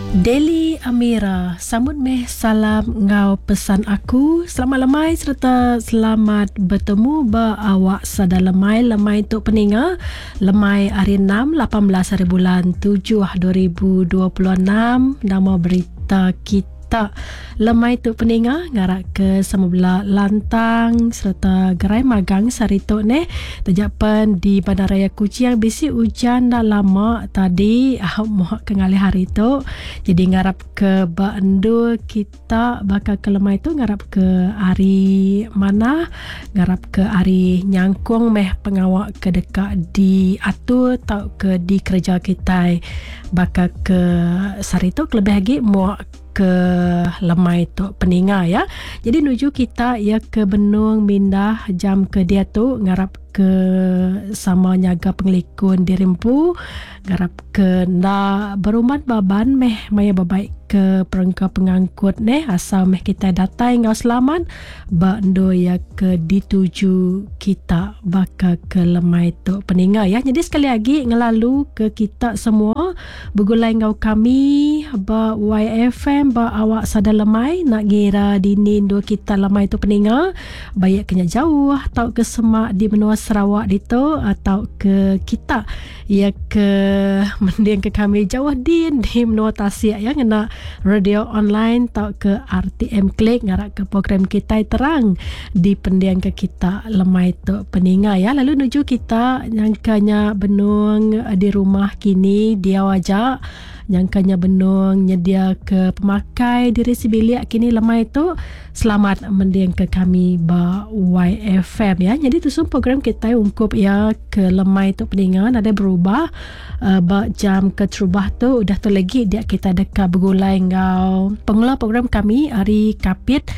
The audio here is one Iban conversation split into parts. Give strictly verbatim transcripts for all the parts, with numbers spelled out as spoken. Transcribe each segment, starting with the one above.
Deli Amira, sambut meh salam enggau pesan aku. Selamat lemai sereta selamat betemu ba awak sada lemai. Lemai tu peninga, lemai hari enam, lapan belas hari bulan tujuh dua ribu dua puluh enam. Nama berita kita lemai tu peninga, ngarak ke sama bela lantang sereta gerai magang sehari tu neh. Tejapan di Bandaraya Kuching bisi hujan dah lama tadi, ah, muak ke ngalih hari tu. Jadi ngarap ke ba endur kita bakal ke lemai tu ngarap ke hari mana, ngarap ke hari nyangkung meh pengawak ke dekat diatur tau ke dikerja kita bakal ke sehari tu kelebih lagi muak ke lemai tu peninga ya. Jadi nuju kita ya ke benung mindah jam ke dia tu ngarap ke sama nyaga pengelikun diri empu, ngarap ke nda berumat baban meh maya berbaik ke perengka pengangkut neh, asal meh kita datai ngau selamat ba endo ya ke dituju kita baka ke lemai tu peninga ya. Jadi sekali lagi ngelalu ke kita semua bergulai ngau kami ba Y F M ba awak sada lemai nak ngira dini dua kita lemai tu peninga, baik kena jauh atau ke semak di benua Sarawak ditu atau ke kita ya ke mending ke kami jauh din di menua Tasik ya, ngena radio online atau ke R T M Klik ngarak ke program kita terang di pendiang ke kita lemai tu peninga ya. Lalu nuju kita nyangkanya benung di rumah kini dia aja nyangkanya benung nyedia ke pemakai diri sebilik kini lemai tu, selamat mending ke kami ba Y F M ya. Jadi tu semua program kita ungkup ya ke lemai tu peningan ada berubah uh, ba jam keterubah tu udah tu lagi dia kita dekat bergulai ngau pengelola program kami hari Kapit.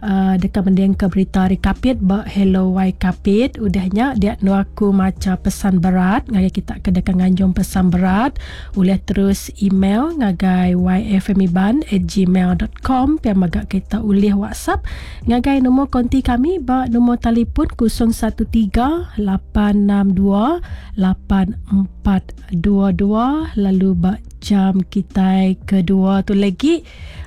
Uh, dekat mending ke berita hari Kapit ba Hello Y Kapit. Udahnya dia nu aku maca pesan berat ngagai kita ke dekat nganjung pesan berat boleh terus email ngagai y f m iban at gmail dot com. Pia magak kita ulih WhatsApp ngagai nombor konti kami ba nombor telefon kosong satu tiga lapan enam dua lapan empat dua dua. Lalu ba jam kita kedua tu lagi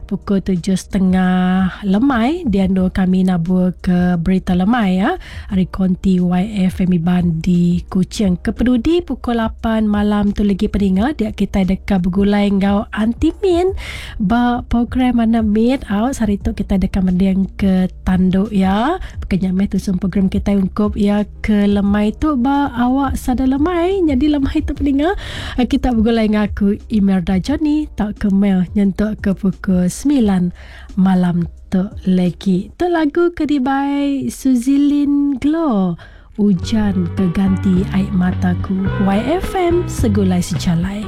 pukul tujuh setengah lemai dia ando kami nabur ke berita lemai ya hari konti Y F M Iban di Kuching. Kepedudi pukul lapan malam tu lagi peninga dia kita dekat bergulai ngau Aunty Min ba program mana meet out hari tu kita dekat mending ke tanduk ya. Pekenya meh tu semua program kita ungkup ya ke lemai tu ba awak sada lemai. Jadi lemai tu peninga kita bergulai ngaku Imelda Johnny tak ke mail nyentuk ke pukul sembilan malam tu lagi. Tu lagu kedibai Suzilin Glow, Hujan Keganti Air Mataku. Y F M Segulai Sejalai.